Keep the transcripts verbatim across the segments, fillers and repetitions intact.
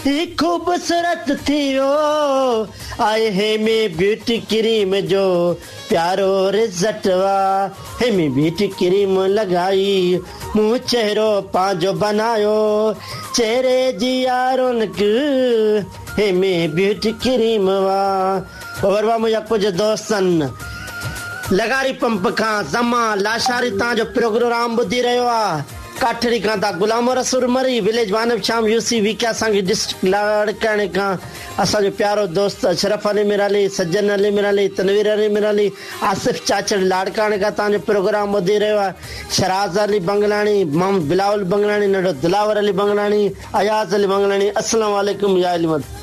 ही ख़ूबसूरत थी वियो आहे हेमी ब्यूटी क्रीम जो प्यारो रिज़ल्ट वा। हेमी ब्यूटी क्रीम लॻाई मूं चहिरो पंहिंजो बनायो, चहिरे जी आ रौनक हेमी ब्यूटी क्रीम वा। और वा मुंहिंजा कुझु दोस्त आहिनि लगारी पंप खां ज़मा लाशारी तव्हांजो प्रोग्राम ॿुधी रहियो आहे। काठड़ी खां था गुलाम रसूल मरी विलेज वानब शाम यूसी विकिया सांगी डिस्ट्रिक्ट लाड़काणे खां असांजो प्यारो दोस्त अशरफ अली मिराली, सज्जन अली मिराली, तनवीर अली मिराली, आसिफ चाचड़ लाड़काणे खां तव्हांजो प्रोग्राम ॿुधी रहियो आहे। शराज़ अली बंगलाणी, मोहम्मद बिलावल बंगलाणी, नंढो दिलावर अली बंगलाणी, अयाज़ अली बंगलाणी। अस्सलाम वालेकुम या अली मदद।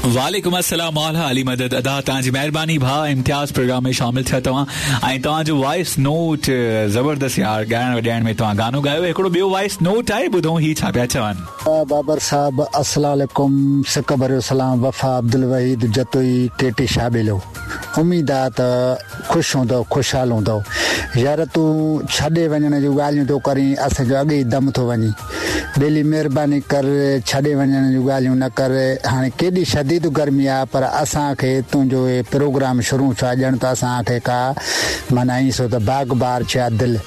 वालेकुम अस्सलाम मौला अली मदद। अदा तव्हांजी महिरबानी भाउ इम्तियाज़ प्रोग्राम में शामिल थिया तव्हां ऐं तव्हांजो वॉइस नोट ज़बरदस्त यार, ॻाइण वॼाइण में तव्हां गानो ॻायो। हिकिड़ो ॿियो वॉइस नोट आहे, ॿुधूं ही छा पिया चवनि। बाबर साहब अस्सलाम वालेकुम, सिक भरियो सलाम। वफ़ा अब्दुल वहीद जतोई केटी शाबिलो। उम्मीद आहे त ख़ुशि हूंदव, ख़ुशहाल हूंदव। यार तूं छॾे वञण जूं ॻाल्हियूं थो करीं, असांजो अॻे ई दम थो वञे। ॿेली महिरबानी कर, छॾे वञण जूं ॻाल्हियूं न कर। हाणे केॾी शदीद गर्मी आहे, पर असांखे तुंहिंजो हे प्रोग्राम शुरू थियो आहे, ॼण त असांखे का माना ईअं सो त बाग बार थिया दिलि।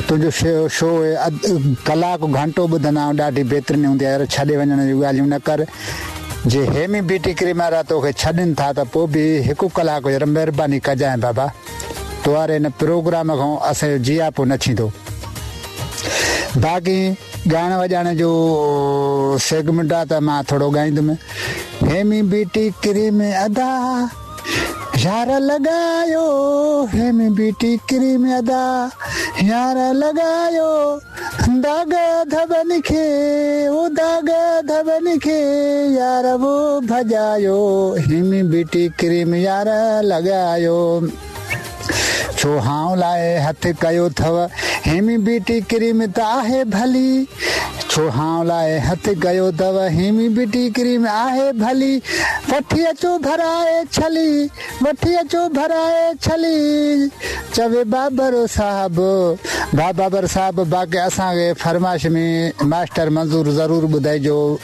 तुंहिंजो शो शो कलाक घंटो ॿुधंदा आहियूं, ॾाढी बहितरीन हूंदी आहे। यार छॾे वञण जूं ॻाल्हियूं न कर। जे हेमी ब्यूटी क्रीम वारा तोखे छॾनि था त पोइ बि हिकु कलाक यार महिरबानी कजांइ बाबा, तो वारे हिन प्रोग्राम खां असांजो जियापो न थींदो। बाक़ी ॻाइण वॼाइण जो सेगमेंट आहे त मां थोरो ॻाईंदुमि। हेमी ब्यूटी क्रीम अदा यार लॻायो, हेमी ब्यूटी क्रीम अदा यार लॻायो, दाग धबन खे ओ दाग धबन खे यार वो भॼायो, हेमी ब्यूटी क्रीम यार लॻायो। छो हांव लाइ हथु कयो अथव, हेमी ब्यूटी क्रीम त आहे भली। छो हांव लाइ हथु कयो अथव, हेमी ब्यूटी क्रीम आहे भली। वठी अचो भराए छली, वठी अचो भराए छली। चवे बाबर साहब, भा बाबर साहब। बाक़ी असांखे फरमाइश में मास्टर मंज़ूर ज़रूरु ॿुधाइजो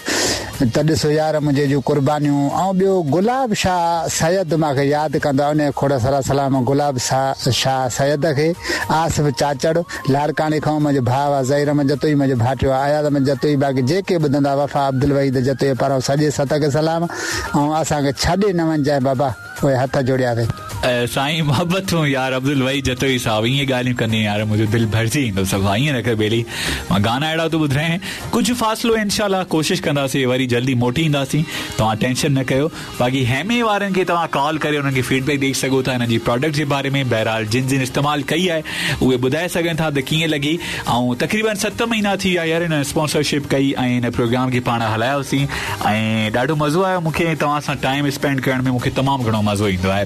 त ॾिसो यार मुंहिंजे जूं कुर्बानियूं। ऐं ॿियो गुलाब शाह सैयद मूंखे यादि कंदो आहे, उन खोड़ सारा सलाम गुलाब शाह सैयद खे। आसिफ़ चाचड़ लाड़काणे खां मुंहिंजो भाउ आहे, ज़हीर अहमद जतोई मुंहिंजो भाटियो आहे, अयाज़ अहमद जतोई। बाक़ी जेके ॿुधंदा वफ़ा अब्दुल वहीद जतोई पारां सॼे सत खे सलाम। ऐं असांखे छॾे न वञिजांइ बाबा, उहे हथ जोड़ियासीं। साईं मोहबतूं यार अब्दुल वहीद जतोई साहब, ईअं ॻाल्हियूं कंदी यार मुंहिंजो दिलि भरिजी ईंदो सफ़ा। ईअं न कर बेली, मां गाना अहिड़ा थो ॿुधायां। कुझु फ़ासिलो इंशाल्लाह कोशिशि कंदासीं, वरी जल्दी मोटी ईंदासीं, तव्हां टेंशन न कयो। बाक़ी हेमे वारनि खे तव्हां कॉल करे उन्हनि खे फीडबैक ॾेई सघो था हिननि जी प्रोडक्ट जे बारे में। बहरहाल जिन जिन इस्तेमालु कई आहे उहे ॿुधाए सघनि था त कीअं लॻी। ऐं तक़रीबन सत महीना थी विया यार हिन स्पॉन्सरशिप कई ऐं हिन प्रोग्राम खे पाण हलायोसीं ऐं ॾाढो मज़ो आयो मूंखे तव्हां सां टाइम स्पेंड करण में, मूंखे तमामु घणो मज़ो ईंदो आहे।